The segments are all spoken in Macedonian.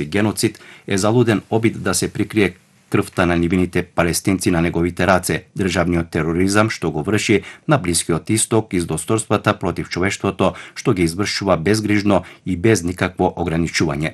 геноцид е залуден обид да се прикрие крвта на нивините палестинци на неговите раце, државниот тероризам што го врши на Блискиот Исток и злосторствата против човештвото што ги извршува безгрижно и без никакво ограничување.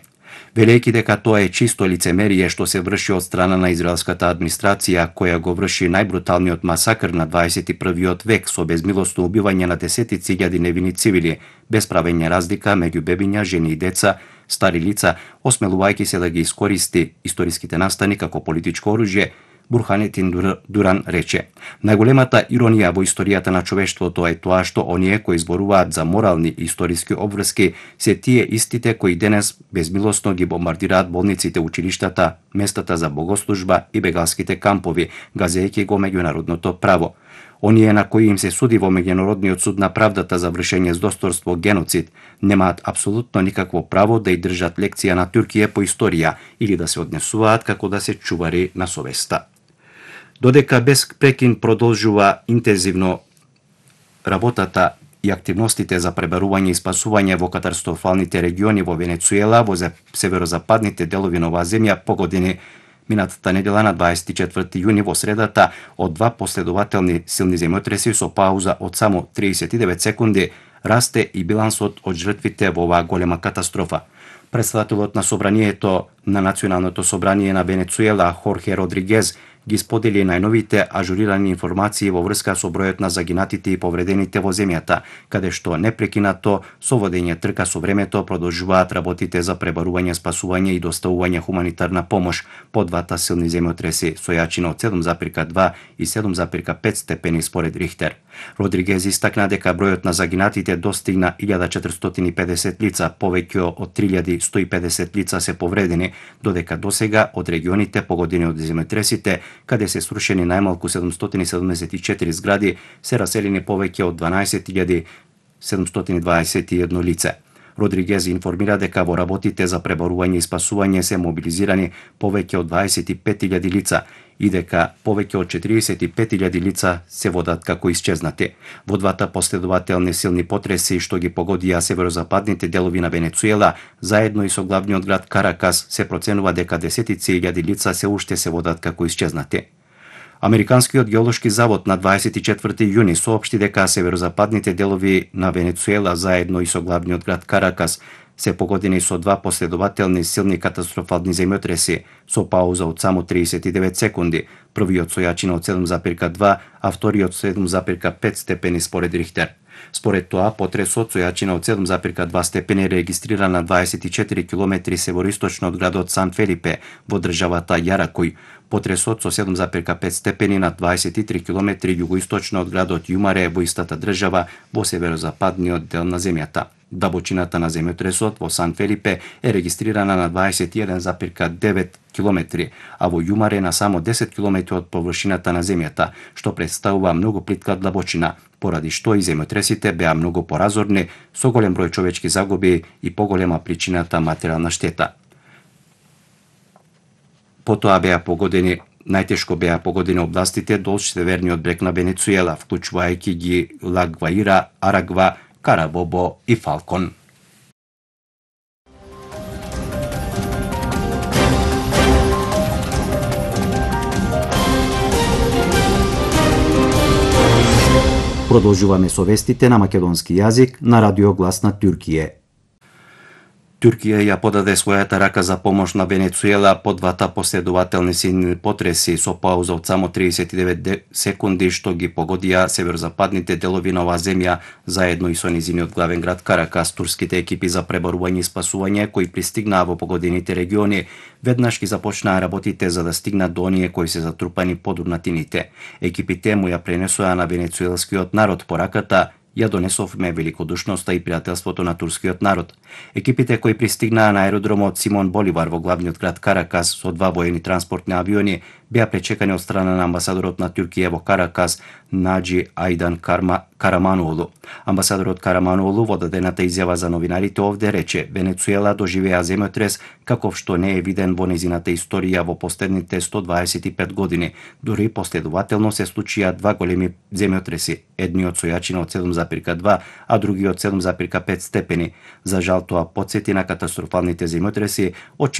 Велејќи дека тоа е чисто лицемерие што се врши од страна на израелската администрација, која го врши најбруталниот масакр на 21. век со безмилосно убивање на десетици илјади невини цивили, без правење разлика меѓу бебиња, жени и деца, стари лица, осмелувајќи се да ги искористи историските настани како политичко оружје, Бурханетин Дуран рече: најголемата иронија во историјата на човештвото е тоа што оние кои зборуваат за морални и историски обврски се тие истите кои денес безмилосно ги бомбардираат болниците, училиштата, местата за богослужба и бегалските кампови, газејќи го меѓународното право. Оние на кои им се суди во меѓународниот суд на правдата за вршење злосторство, геноцид, немаат апсолутно никакво право да и држат лекција на Туркија по историја или да се однесуваат како да се чувари на совеста. Додека без прекин продолжува интензивно работата и активностите за пребарување и спасување во катастрофалните региони во Венецуела, во северозападните делови на оваа земја, погодени минатата недела на 24 јуни во средата од два последователни силни земјотреси со пауза од само 39 секунди, расте и билансот од жртвите во оваа голема катастрофа. Претседателот на собранието на Националното собрание на Венецуела, Хорхе Родригез, ги сподели најновите ажурирани информации во врска со бројот на загинатите и повредените во земјата, каде што непрекинато со водење трка со времето продолжуваат работите за пребарување, спасување и доставување хуманитарна помош по двата силни земјотреси со јачина од 7,2 и 7,5 степени според Рихтер. Родригез истакна дека бројот на загинатите достигна 1450 лица, повеќе од 3150 лица се повредени, додека досега од регионите погодени од земјотресите, каде се срушени најмалку 774 згради, се раселени повеќе од 12.721 лице. Родригез информира дека во работите за преборување и спасување се мобилизирани повеќе од 25.000 лица и дека повеќе од 45.000 лица се водат како исчезнати. Во двата последователни силни потреси што ги погодија северозападните делови на Венецуела, заедно и со главниот град Каракас, се проценува дека десетици илјади лица се уште се водат како исчезнати. Американскиот геолошки завод на 24 јуни соопшти дека северозападните делови на Венецуела заедно и со главниот град Каракас се погодени со два последователни силни катастрофални земјотреси со пауза од само 39 секунди, првиот со јачина од 7,2, а вториот 7,5 степени според Рихтер. Според тоа, потресот со јачина од 7,2 степени регистриран на 24 км североисточно од градот Сан Фелипе во државата Јаракој. Потресот со 7,5 степени на 23 км југоисточно од градот Јумаре во истата држава во северозападниот дел на земјата. Дабочината на земјотресот во Сан Фелипе е регистрирана на 21,9 км, а во Јумаре на само 10 км од површината на земјата, што представува многу плитка длабочина, поради што и земјотресите беа многу поразорни, со голем број човечки загуби и поголема причината материјална штета. Потоа најтешко беа погодени областите долж северниот брег на Венецуела, вклучувајќи ги Ла Гваира, Арагва, Карабобо и Фалкон. Продолжуваме со вестите на македонски јазик на Радио Глас на Туркија. Туркија ја подаде својата рака за помош на Венецуела по двата последователни силни потреси со пауза од само 39 секунди што ги погодија северозападните делови на оваа земја, заедно и со низиниот главен град Каракас. Турските екипи за преборување и спасување кои пристигнаа во погодените региони веднаш ги започнаа работите за да стигнат до оние кои се затрупани под урнатините. Екипите му ја пренесоа на венецуелскиот народ пораката: ја донесовме великодушноста и пријателството на турскиот народ. Екипите кои пристигнаа на аеродромот Симон Боливар во главниот град Каракас со два воени транспортни авиони беа пречекани од страна на амбасадорот на Туркија во Каракас Наџи Ајдан Караманоолу. Амбасадорот Караманоолу во дадената изјава за новинарите овде рече: Венецуела доживеа земјотрес каков што не е виден во незината историја во последните 125 години. Дури последователно се случија два големи земјотреси, едниот со јачина од 7,2, а другиот 7,5 степени. За жал тоа потсети на катастрофалните земјотреси од